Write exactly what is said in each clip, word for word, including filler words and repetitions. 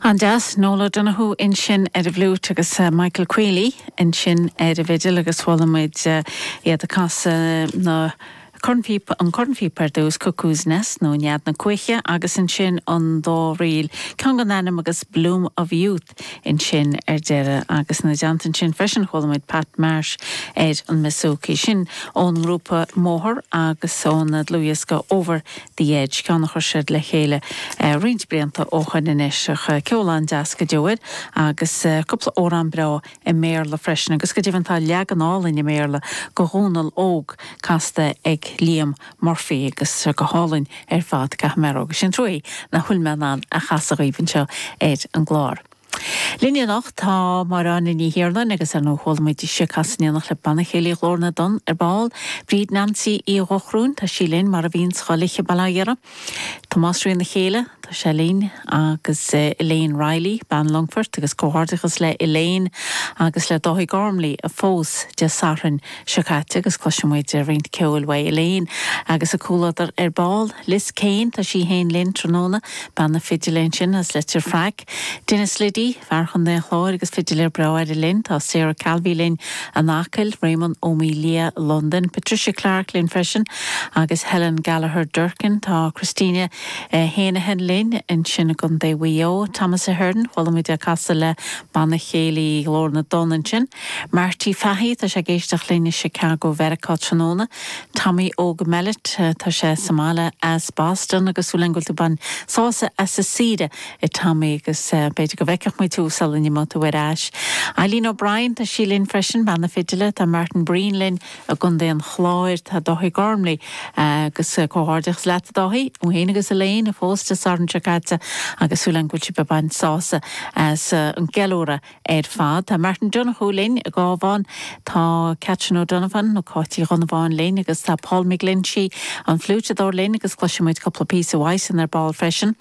An-deas Noel O'Donoghue ansin ar an bhfliúit agus uh, Michael Quealy ansin ar an bhfidil agus chuala muid uh, iad ag casadh na cornphíopa an cornphíopa ar dtús Cuckoo's Nest nó Nead na Cuiche agus ansin an dá ríl ceann gan ainm agus Bloom of Youth ansin ar deireadh agus ina dteannta sin freisin chuala muid Pat Marsh ar an mbouzouki sin ón ngrúpa Moher agus ón dlúthdhiosca Over the Edge ceann a chuir siad le chéile uh, roinnt blianta ó shin anois ceol an-deas go deo agus uh, cúpla amhrán breá i mBéarla freisin agus go deimhin tá leagan álainn i mBéarla go Dhónal Óg casta ag Liam Murphy agus go hálainn ar fad caithfidh mé sin trua nach bhfuil mé in ann a chasadh daoibh anseo ar an gclár. Linn anocht tá Máire Áine Ní Thiarnáin agus ar nó chuala muid ise ag casadh in éineacht le Banna Céilí Ghlór na dTonn ar ball, Bríd Nancy Uí Dhochróin tá sí linn mar a bhíonn chuile bhaile Tomás Rí na chéile tá sé linn agus uh, Elaine Riley bean Longfort agus comhghairdeachas le Elaine agus le Dáithí Gormley a phós Dé Sathairn seo caite agus cloisfimid roinnt ceoil uaidh Elaine agus a comhluadar ar ball Liz Kane tá sí féin linn tráthnóna bean na fidile sin as Leitir Fraic. Dennis Liddy fear Chontae an Chláir agus fidiléir breá linn tá Sarah Calvi linn an Acaill Raymond O'Melia London, Patricia Clark linn freisin agus Helen Gallagher Durkin tá Christina eh, Héanahan linn ansin i gContae Mhaigh Eo, Thomas Ahern chuala muid ag casadh le Banna Céilí Ghlór na dTonn ansin. Marty Fahy tá sé ag éisteacht linn i Chicago Mheiriceá tráthnóna, Tommy Óg Mellet eh, tá sé sa mbaile as Boston agus súil go bhfuil tú ag baint sásamh as an saoire a Tommy agus uh, b'fhéidir go bhfeicfidh muid tú sula n-imeoidh tú ar ais. Eileen O'Brien tá sí linn freisin bean na fidile tá Martin Breen linn i gContae an Chláir tá Dáithí Gormley agus uh, comhghairdeachas leat Dáithí ó héana agus a léin a phós Dé Sathairn seo caite agus súil go bhfuil sibh ag baint sásamh as uh, an gceiliúradh ar fad. Tá Martin Donoghue linn i gCabhán tá Catherine O'Donovan nó Cáití Dhonnabháin linn agus tá Paul McGlinchey an fliúiteadóir linn agus cloisfimid cúpla píosa uaidhsean ar ball freisin.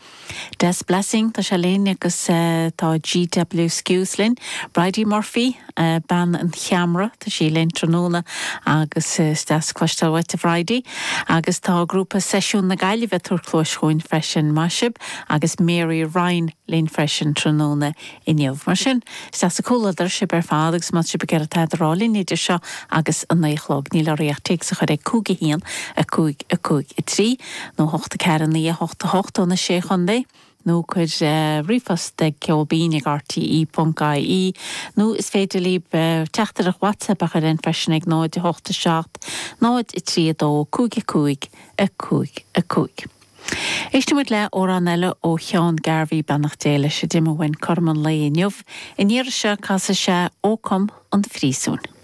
Des Blessing tá sé linn agus uh, tá GW Skews linn, Bridie Murphy uh, bean an cheamara tá sí linn tráthnóna agus uh, deas cloisteáil uait a Bhridie agus tá grúpa Seisiún na Gaillimhe ag tabhairt cluas dúinn freisin maisib agus Mary Ryan linn freisin tráthnóna inniu. Mar sin deas comhluadar sibh ar fad agus má sib gur tá rálinn idir seo agus an naoi a chlog níl oraibh ach téacs a chur ag cúig a haon a cúig a cúig a trí nó hocht a ceathair naoi a hocht a hocht ó na sé chontae. nó cuir uh, ríomhphost ag ceolbinn ag RTE.ie nó is féidir libh uh, teachtaireacht WhatsApp a chur in freisin ag náid hocht a seacht, náid a trí dó cúig a cúig a cúig a cúig. Éistfimid le amhrán eile ó Sheán Garvey beannacht Dé leis a d'imigh uainn cothrom an lae inniu, in iar seo casfaidh sé Ó Come an Phríosúin.